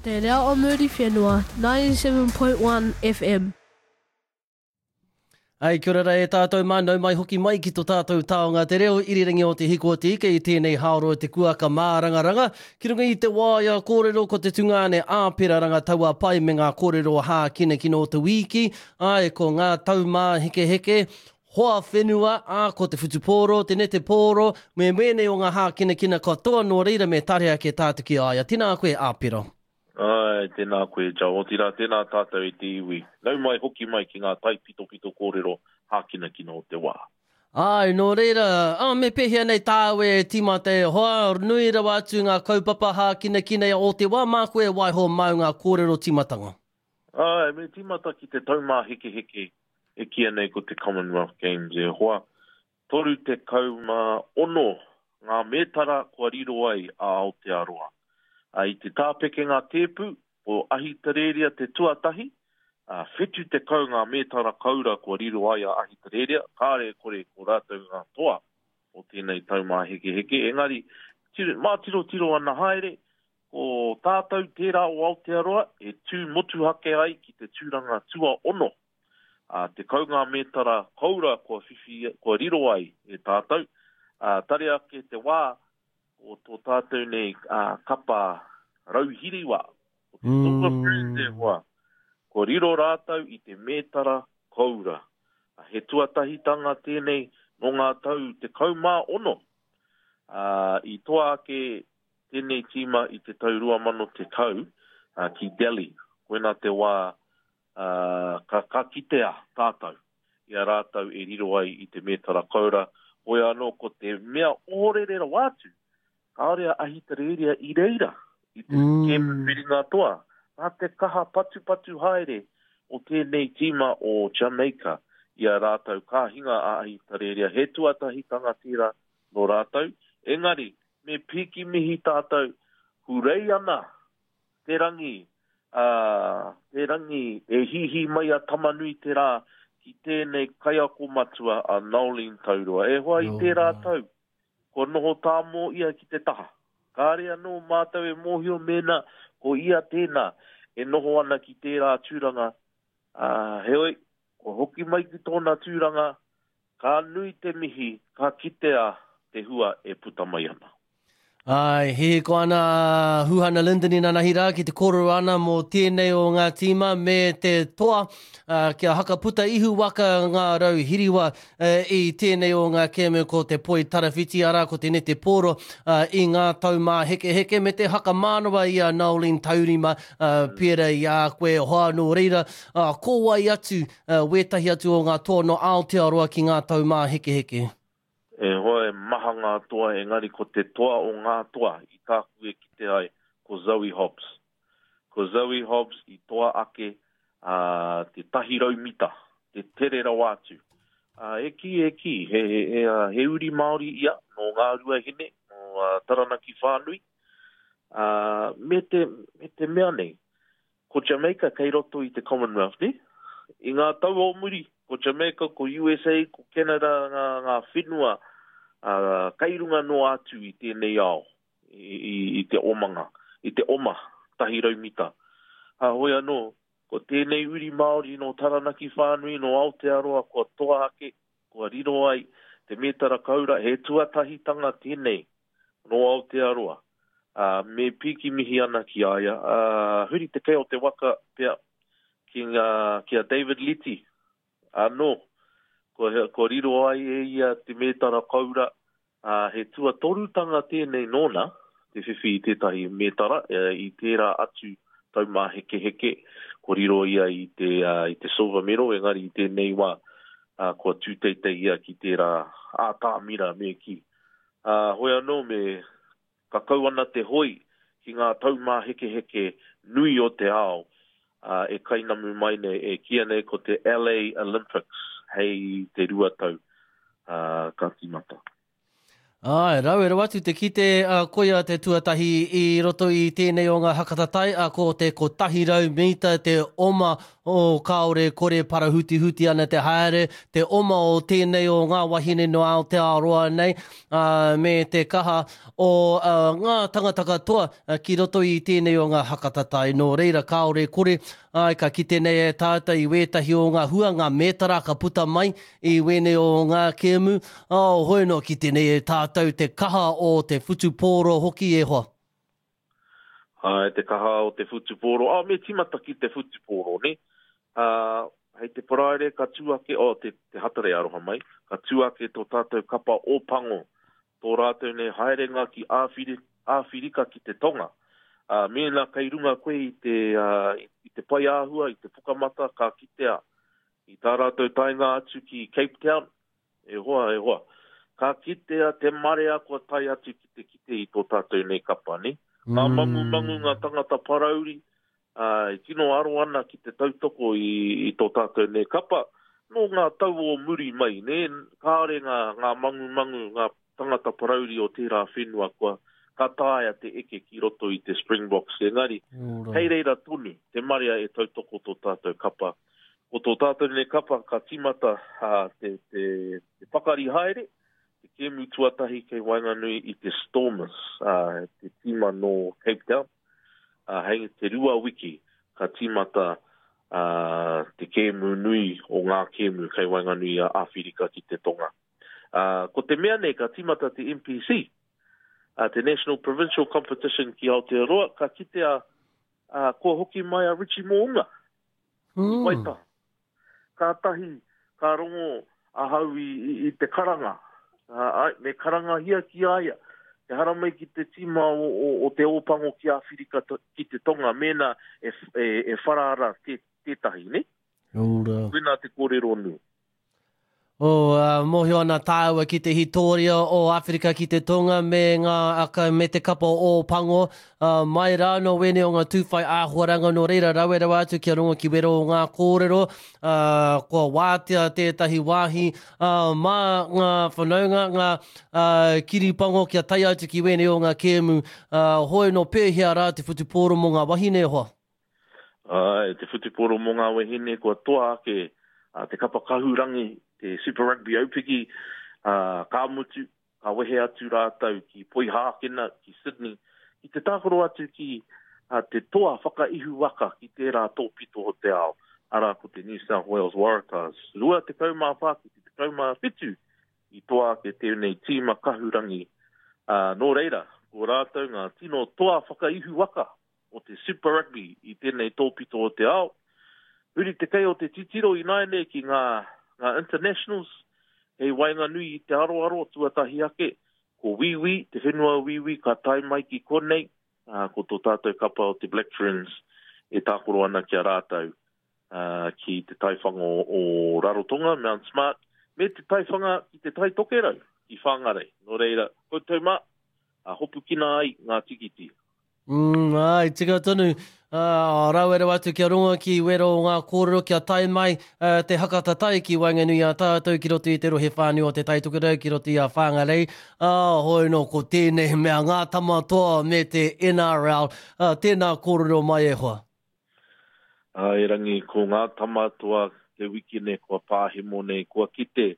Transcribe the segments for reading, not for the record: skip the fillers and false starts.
Te Reo o Muriwhenua, 97.1 FM. Ai, kia ora rā e tātou mā, nau mai hoki mai ki to tātou taonga te reo irirangi o Te Hiko o Te Ika i tēnei haoro o te kuaka mārangaranga. Ki runga i te waea kōrero ko te tungāne Āpera Rangataua-Pai me ngā kōrero hākinakina o te wīki, āe, ko ngā taumāhekeheke, hoa whenua, ā, ko te whutupōro, te netepōro, me wēnei o ngā hākinakina katoa, nō reira me tare ake tātou ki a ia. Tēnā koe, Āpera. Āe, tēnā koe Joe, otirā tēnā tātou e te iwi. Nau mai hoki mai ki ngā taipitopito kōrero hākinakina o te wā. Āe, nō reira, ā, me pēhea nei tāu e tīmata e hoa, nui rawa atu ngā kaupapa hākinakina o te wā, māku e waiho māu ngā kōrero tīmatanga. Āe, me tīmata ki te taumāhekeheke e kīia nei ko te Commonwealth Games e hoa. 36 ngā mētara kua riro ai a Aotearoa. I te tāpekenga tēpu, ko Ahitereiria te tuatahi, ā, 70 ngā mētara koura kua riro ai a Ahitereiria, kāre e kore ko rātou ngā toa o tēnei taumāhekeheke, engari, mātirotiro ana haere, ko tātou tērā o Aotearoa e tū motuhake ai ki te tūranga tuaono Ā, 10 ngā mētara koura kua whiwhi, kua riro ai e tātou. Ā, tare ake te wā o tō tātou nei kapa rauhiriwa, o te Silver Ferns e hoa, kua riro rātou i te mētara koura. He tuatahitanga tēnei nō ngā tau 16. Ā, i toa ake tēnei tīma i te tau 2010 ki Delhi. Koinā te wā ā, ka, ka kitea tātou i a rātou e riro ai i te mētara koura, hoi anō ko te mea ohorere rawa atu, kāore a Ahitereiria i reira i te mm. kēmu whiringa toa, nā te kaha patupatu haere o tēnei tīma o Jamaica i a rātou ka hinga a Ahitereiria, he tuatahitanga tērā nō rātou, engari me pīki mihi tātou, hurei ana Te rangi, ā, te rangi e hīhī mai a Tama-nui-te-rā ki tēnei kaiako matua a Noeline Taurua. E hoa i tērā tau, kua noho tāmō ia ki te taha. Kāre anō mātou e mōhio mēnā ko ia tēnā e noho ana ki tērā tūranga, ā, heoi, kua hoki mai ki tōna tūranga, ka nui te mihi, ka kitea te hua e puta mai ana. Āe, hihiko ana a Huhana Lyndon inanahi rā ki te kōrero ana mō tēnei o ngā tīma me te toa kia hakaputa ihu waka ngā rau hiriwa i tēnei o ngā kēmu ko te poi tarawhiti arā ko te nete pōro i ngā taumāhekeheke me te hakamānawa i a Noeline Taurima pērā i a koe hoa nō reira ko wai atu wētahi atu o ngā toa nō Aotearoa ki ngā taumāhekeheke? E hoa e maha ngā toa engari ko te toa o ngā toa i tāku e kite ai ko Zoe Hobbs. Ko Zoe Hobbs i toa ake ā, te 100 mita, te tere rawa atu. Ā, e kī, e kī, he, he, he, he uri Māori ia nō Ngāruahine, nō Taranaki whānui. Ā, me te, me te mea nei, Ko Jamaica kei roto i te Commonwealth, nē? I ngā tau o muri, ko Jamaica, ko USA, ko Canada ngā, ngā whenua ā, kei runga noa atu i tēnei ao, i, i, i te omanga, i te oma, 100 mita. Ā, hoi anō, ko tēnei uri Māori nō Taranaki whānui, nō Aotearoa kua toa ake, kua riro ai te mētara koura, he tuatahitanga tēnei nō Aotearoa, ā, me pīki mihi ana ki a ia, ā, huri te kei o te waka pea ki ngā, ki a David Liti anō, kua, kua riro ai e ia te mētara koura, ā, he tuatorutanga tēnei nōna te whiwhi i tētahi mētara, i tērā atu taumāhekeheke, kua riro ia i te, i te silver medal, engari i tēnei wā, ā, kua tūteitei ia ki tērā ātamira me kī. Ā, hoi anō me kakau ana te hoi ki ngā taumāhekeheke nui o te ao, ā, e kainamu mai nei, e kīia nei ko te LA Olympics hei te 2 tau, ā, ka tīmata. Āe, rawe rawa atu te kite, ā, koia te tuatahi i roto i tēnei o ngā hakatatai, ā, ko te 100 mita te oma o kāore kore parahutihuti ana te haere, te oma o tēnei o ngā wahine no Aotearoa nei, ā, me te kaha o ā, ngā tangata katoa ki roto i tēnei o ngā hakatatai. Nō reira, kāore kore, āe, ka kite nei e tātou i wētahi o ngā hua, ngā mētara ka puta mai I wēnei o ngā kēmu, oh, hoi noa ki tēnei e tātou te kaha o te whutupōro hoki e hoa. Āe, te kaha o te whutupōro. Oh, me tīmata ki te whutupōro, nē? Ā, hei te Paraire ka tū ake, oh, te, te Hatarei aroha mai, ka tū ake tō tātou kapa Ōpango, tō rātou nei haerenga ki Āwhiri, Āwhirika ki te Tonga. Ā, mēnā kei runga koe i te, ā, i te paeāhua, i te pukamata, ka kitea I tā rātou taenga atu ki Cape Town, e hoa, e hoa, ka kitea te marea kua tae atu ki te kite i tō tātou nei kapa, nē? Ngā mangumangu, ngā tangata parauri, ā, e tino aro ana ki te tautoko i, i tō tātou nei kapa, nō ngā tau o muri mai, nē, kāore ngā, ngā mangumangu, ngā tangata parauri o tērā whenua kua, ka taea te eke ki roto i te Springboks, engari, kei reira tonu te marea e tautoko tō tātou kapa. Ko tō tātou nei kapa ka tīmata te, te, te pakari haere, te kēmu tuatahi kei waenganui i te Stormers, te tīma nō Cape Town. Hei te rua wiki ka tīmata te kēmu nui o ngā kēmu kei waenganui i a Āwhirika ki te Tonga. Ko te mea nei ka tīmata te NPC, te National Provincial Competition ki Aotearoa, ka kitea kua hoki mai a Richie Mo'unga i Waitaha. Kātahi ka rongo ahau i, i, i te karanga, ai, me karangahia ki a ia, te haramai ki te tīma o, o, o te Ōpango ki Āwhirika ki te Tonga, mēnā e, e, e whara ara tē, tētahi, ne? Ora. Koinā te kōrero nui. Oh, uh, mōhio ana tāua ki te hitoria o Āwherika ki te Tonga me ngā aka, me te kapa o Pango. Uh, mai rā no wēnei o ngā tūwhai āhuaranga nō reira rawe rawa atu kia rongo ki wero o ngā kōrero. Uh, kua wātea tētahi wāhi uh, mā ngā whanaunga, ngā uh, kiripango kia tae atu ki wēnei o ngā kēmu. Uh, hoi no pēhea rā te whutupōro mō ngā wahine hoa? Āe, te whutupōro mō ngā wahine kua toa ake te kapa kahurangi, te Super Rugby Aupiki, ā, ka mutu, ka wehe atu rātou ki Poihākena, ki Sydney, ki te tākaro atu ki te toa whakaihu waka ki tērā tōpito o te ao, arā ko te New South Wales Waratahs. 24 ki te 17 i toa ake tēnei tīma kahurangi, ā, nō reira, ko rātou ngā tino toa whakaihu waka o te Super Rugby i tēnei tōpito o te ao. Huri te kei o te titiro ināianei ki ngā, ngā internationals kei waenganui i te aroaro tuatahi ake, ko Wīwī, te whenua o Wīwī ka tae mai ki konei, ā, ko tō tātou kapa o te Black Ferns e tākaro ana ki a rātou ā, ki te taiwhanga o Rarotonga, Mount Smart, me te taiwhanga ki te Tai Tokerau, ki Whangarei. Nō reira, koutou mā, ā, hopukina ai ngā tikiti. Mm, āe, tika tonu. Uh, rawe rawa atu kia rongo ki wero o ngā kōrero kia tae mai uh, te haka tatai ki waenganui i a tātou ki roto i te rohe whānui o Te Tai Tokerau ki roto i a Whangarei. Uh, hoi no, ko tēnei mea ngā tama toa me te NRL. Uh, tēnā kōrero mai e hoa. Ā, erangi, ko ngā tama toa te wiki nei kua pāhemo nei, kua kite.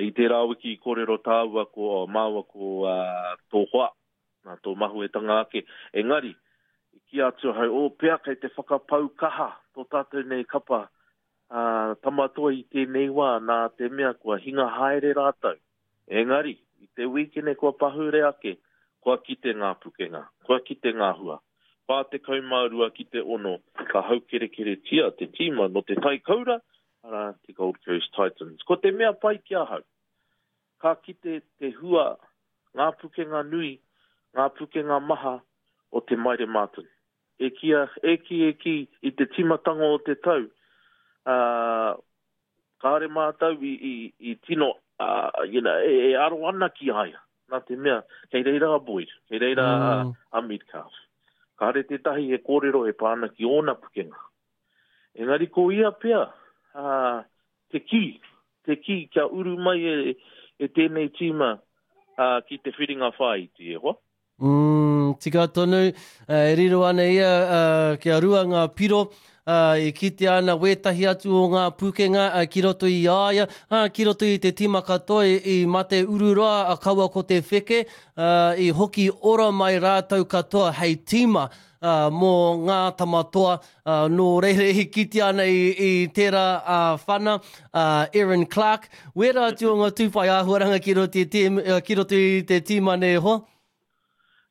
I tērā wiki i kōrero tāua ko, oh, māua ko uh, tō hoa, nā tō mahuetanga ake. Engari, i kī atu ahau, oh, pea kei te whakapau kaha tō tātou nei kapa ā, tamatoa i tēnei wā, nā te mea kua hinga haere rātou. Engari, i te wīkene kua pahure ake, kua kite ngā pukenga, kua kite ngā hua. 42 ki te 6, ka haukerekeretia te tīma nō te Tai Koura, arā, te Gold Coast Titans. Ko te mea pai ki ahau, ka kite te hua, ngā pukenga nui, ngā pukenga maha o Te Maire Martin. E kī, e kī, e kī, i te tīmatanga o te tau, ā, kāore mātou i, i, i tino, ā, you know, e, e aro ana ki a ia, nā te mea, kei reira a Boyd, kei reira a, mm. a Metcalf. Kāore tētahi he kōrero e pā ana ki ōna pukenga. Engari ko ia pea, ā, te kī, te kī kia uru mai e, e tēnei tīma, ki te whiringa whāiti, e hoa. Mm, tika tonu, e riro ana ia kia rua ngā piro, e kitea ana wētahi atu o ngā pūkenga ki roto i a ia, ki roto i te tīma katoa i mate ururoa kaua ko te wheke, i hoki ora mai rātou katoa hei tīma mō ngā tama toa, nō reira i kitea ana i tērā whana, Erin Clark, wērā atu o ngā tūwhai āhuaranga ki roto i te, ki roto i te tīma nei e hoa?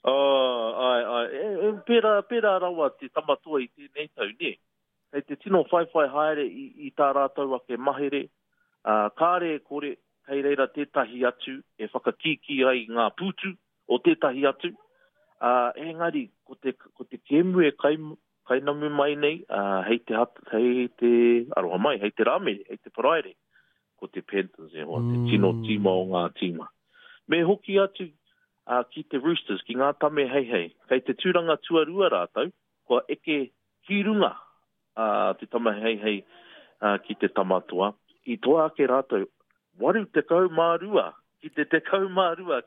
Oh, āe, āe. E, e, pērā, pērā rawa te tama toa i tēnei tau, nē? Kei te tino whaiwhai haere i, i tā rātou ake mahere, ā, kāre e kore, kei reira tētahi atu e whakakīkī ai i ngā pūtu, o tētahi atu, ā, engari ko te, ko te kēmu e kai, kainamu mai nei, ā, hei te, hei te, aroha mai, hei te Rāmere, hei te Paraire, ko te Panthers e hoa, te tino mm. tīma o ngā tīma. Me hoki atu ā, ki te Roosters, ki ngā tame heihei, kei te tūranga tuarua rātou, kua eke ki runga ā, te tama heihei ā, ki te tama toa. I toa ake rātou 82 ki te 12 ki.